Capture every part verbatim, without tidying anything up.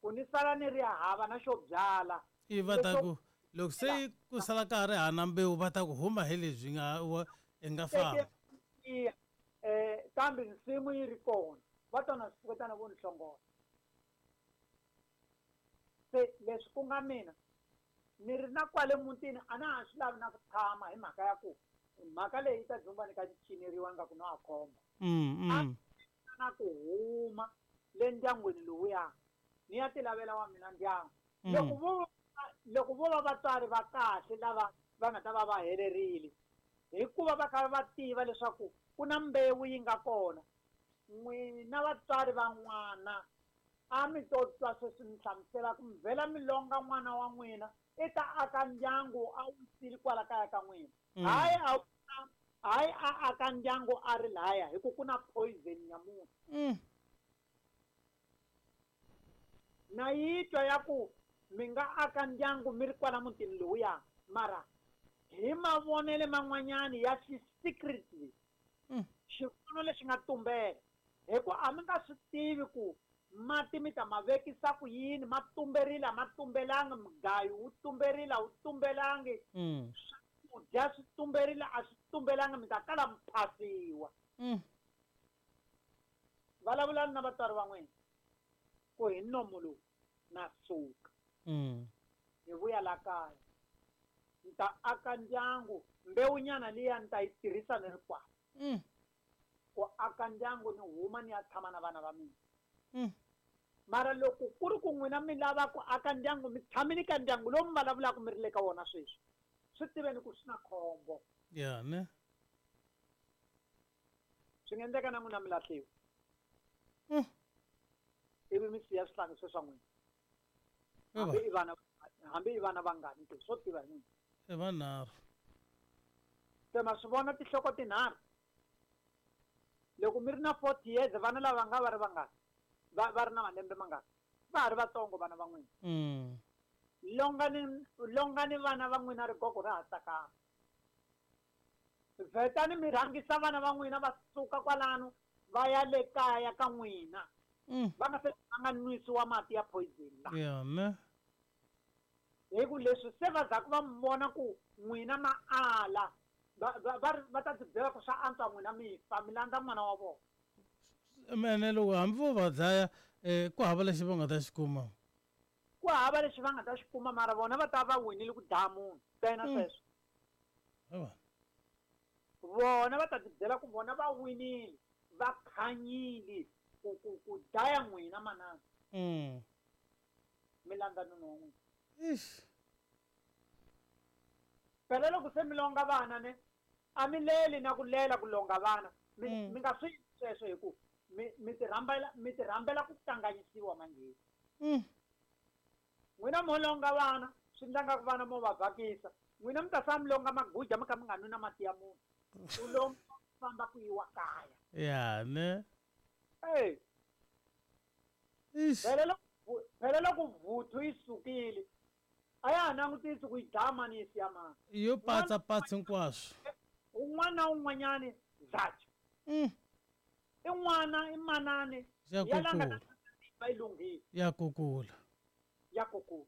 Ku ni sala ni ri hava na xo byala. I va ta ku loko se ku sala ka ha ri hana mbewu va ta ku huma hi lebyi nga i nga famba. Eh kambe nsimu yi ri kona. Va tona swipfuketana vo ni hlongola. Se leswi ku nga mina ni ri na kwale mutini a na ha swi lavi na ku tshama hi mhaka ya ku mhaka leyi ta dzumba ni ka cineriwa nga ku no a khomba. Mm mm. Na ku huma le ndyangwini lowuya ni ya ti lavela wa mina ndyangu. Loko vo loko vo va vatswari va kahle lava va nga ta va va helerile hikuva va kha va tiva leswaku ku na mbewu yi nga kona. N'wina vatswari va n'wana a mi to twa sweswi mi hlamusela ku mi vhela mi longa n'wana wa n'wina i ta aka ndyangu a wu sili kwala kaya ka n'wina. Hayi a hayi a aka ndyangu a ri laya hi ku ku na poison ya munhu. Na yi twa ya ku mi nga aka ndyangu mi ri kwala mutini lowuya mara hi mavonele man'wanyani ya xi secretly xivono lexi nga tumbela hi ku a mi nga swi tivi ku mati mi ta ma vekisa ku yini ma tumberile a ma tumbelangi mugayo wu tumberile a wu tumbelangi swakudya swi tumberile a swi tumbelangi mi ta kala mi phasiwa. Vulavulani na vatswari va n'wina ku hi nomo lowu na suka hi vuya la kaya ni ta aka ndyangu mbewunyana liya ni ta yi tirhisa ni ri kwala ku aka ndyangu ni huma ni ya tshama na vana va mina. Mara loko ku ri ku n'wina mi lava ku aka ndyangu mi tshamile ka ndyangu lowu mi vulavulaka mi ri le ka wona sweswi swi tiveni ku swi na khombo. Ya ne swi nga endleka na n'wina mi lahliwa ivi mi siya swihlangi swe swa n'wina hambi i vana hambi i vana vangani ke swo tiva hi n'wina i vanharhu. Se ma swi vona tinhloko tinharhu loko mi ri na forty years vana lava nga va ri vangani va va ri na malembe mangani va ha ri vatsongo vana va n'wina. Longani longani vana va n'wina rigogo ra ha tsakama. Vhetani mi rhangisa vana va n'wina va suka kwalano va ya le kaya ka n'wina va nga se va nga nwisiwa mati ya poison la. Ya ne hi ku leswi se va zaku va mi vona ku n'wina ma ala va va va ta tibyela ku swa antswa n'wina mi fa mi landza n'wana wa vona. Mene loko hambi vo va dlaya ku hava lexi va nga ta xi kuma. Ku hava lexi va nga ta xi kuma mara vona va ta va winile ku dlaya munhu ntsena sweswo. Vona va ta tibyela ku vona va winile va khanyile ku ku ku dlaya n'wina manana. Mi landza nuna wa n'wina. Eish. Phela loko se mi longa vana ne a mi leli na ku lela ku longa vana mi mi nga swi sweswo hi ku mi mi ti rhambela mi ti rhambela ku kanganyisiwa manjhe. N'wina mo longa vana swi endla nga ku vana mo va vhakisa n'wina mi ta sala mi longa maguja mi kha mi nga nwi na mati ya munhu u longa famba ku yiwa kaya. Ya ne Hey. Eish. Phela loko phela loko vuthu yi sukile a ya ha langutisi ku yi dlaya mani yi siya mani. Yo patsa patsa hinkwaswo. Un'wana na un'wanyani zacha. I n'wana i manani Ya ya la nga kukula. ta va yi lunghile. Ya kukula. Ya kukula.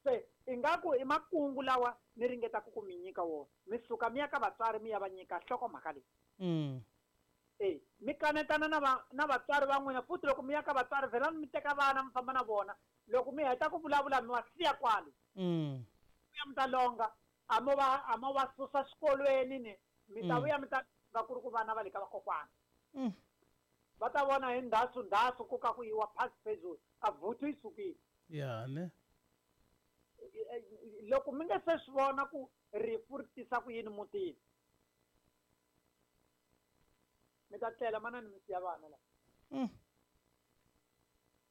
Se ingaku i makungu lawa ni ringetaka ku mi nyika wona. Mi suka mi ya ka vatswari mi ya va nyika nhlokomhaka leyi. Mm. Eh, mi kanetana na va na vatswari va n'wina futhi loko mi ya ka vatswari vhelani mi teka vana mi famba na vona. Loko mi heta ku vulavula mi wa siya kwale. Mm. Vuya mi ta longa a mo va a mo va susa xikolweni ni mi ta vuya mi ta nga ku ri ku vana va le ka vakokwana. Mm. Va ta vona hi ndhasu ndhasu ku ka ku yiwa phasi phezulu a vuthu yi sukile. Ya ne. Loko mi nga se swi vona ku rifu ri tisa ku yini mutini mi ta tlela manani mi siya vana la. Mm.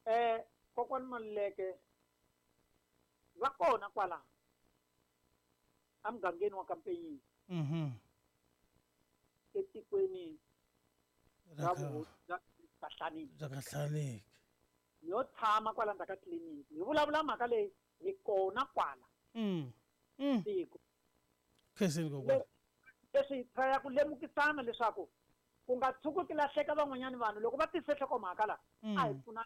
Eh kokwani Maluleke va kona kwala emugangeni wa Kampeyini. Mhm. Etikweni Ra ra ka Kahlaniki. Ra Kahlaniki. Yo tshama kwala ndzhaku ka tliliniki hi vulavula mhaka leyi hi kona kwala. Mm. Mm. Tiko. Khenseni kokwana. Leswi hi try ku lemukisana leswaku ku nga tshuki ku lahleka van'wanyani vanhu loko va tise nhlokomhaka la a hi pfuna